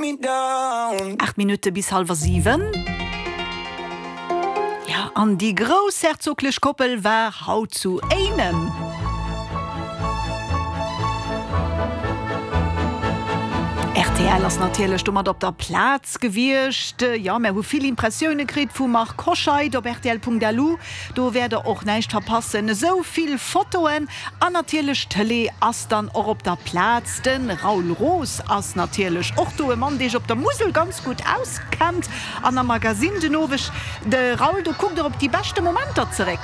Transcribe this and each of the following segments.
8 Minutte bis hallwer 7. Jo, an déi groussherzoglech Koppel war haut zu Éinen. Rtl ass natierlech domat op der Plaz gewiescht. Jo, mär hu vill Impressioune kritt vum Marc Hoscheid op rtl.lu. Do wäert der och näischt verpassen. Esou vill Fotoen an natierlech d'Tëlee ass dann och op der Plaz. De Raoul Roos ass natierlech och do, e Mann, dee sech op der Musel ganz gutt auskennt. An am Magasinn den Oweg, de Raoul, do kuckt der op déi beschte Momenter zeréck.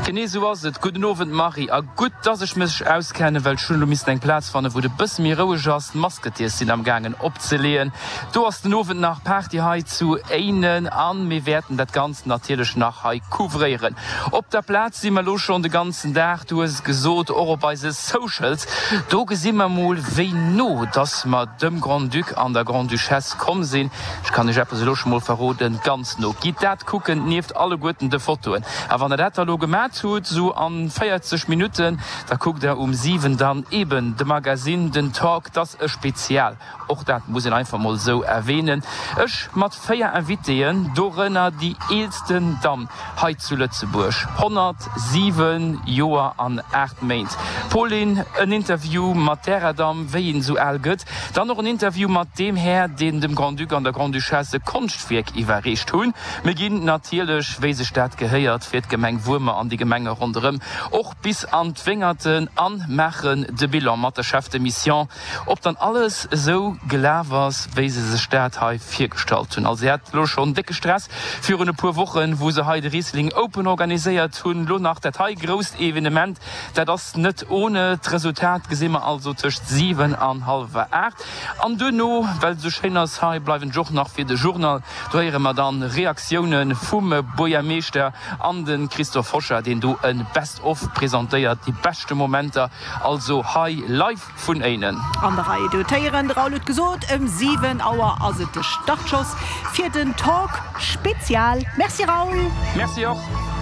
Genee esou ass et. Gudden Owend Marie, a gutt dass ech mech auskennen, well ech hunn elo missen eng Plaz fannen, wou et e bësse méi roueg ass. D'Masketeers sinn am gaangen opzeleeën. Do ass den Owend nach Party hei zu Éinen an mir wäerten dat Ganzt natierlech nach hei couvréieren. Op der Plaz si mer elo schonn de ganzen Dag, du hues et gesot, och op eise Socials. Do gesi mer mol wéi no dass mer dem Grand-Duc an der Grande-Duchesse komm sinn. Ech kann iech eppes elo scho mol verroden, ganz no. Gitt dat kucken, nieft alleguerten de Fotoen. A wann der dat da lo gemat hutt, sou an 40 Minutten, da kuckt der um 7 dann eben de Magazine, den Talk, 't ass e Spezial. Och dat muss een einfach mol esou erwähnen. Ech mat 4 Invitéen, dorënner déi eelsten Damm hei zu Lëtzebuerg, 107 Joer an 8 Méint. Pauline, en Interview mat därer Damm, wéi een esou al gëtt. Dann och en Interview mat deem Här, deen dem Grand-Duc an der Grande-Duchesse e Konschtwierk iwwerreecht hunn. Mir ginn natierlech, wéi sech dat gehéiert fir d'Gemeng Wuermer an déi Gemenge ronderëm, och bis an d'Wéngerten an maachen de Bilan mat der Chef de Mission, Ob dann alles esou gelaf ass, wéi se sech dat hei virgestallt hunn. Also si hat elo schonn décke Stress virun e puer Wochen, wou se hei de Riesling Open organiséiert hunn. Elo nach dat hei grousst Evenement, dat ass net ohne. D'Resultat gesi mer also tëscht 7 an hallwer 8. An duerno, well et esou schéin ass hei, bleiwen ech och nach fir de Journal. Do héiere mer dann Reaktioune vum Buergermeeschter an de Christophe Hochard, deen do e Best of presentéiert, déi beschte Momenter also hei live. Vun Éinen. An der Rei do d'Héieren. De Raoul huet gesot, ëm 7 Auer ass et de Startschoss fir den Talk Spezial. Merci Raoul. Merci och.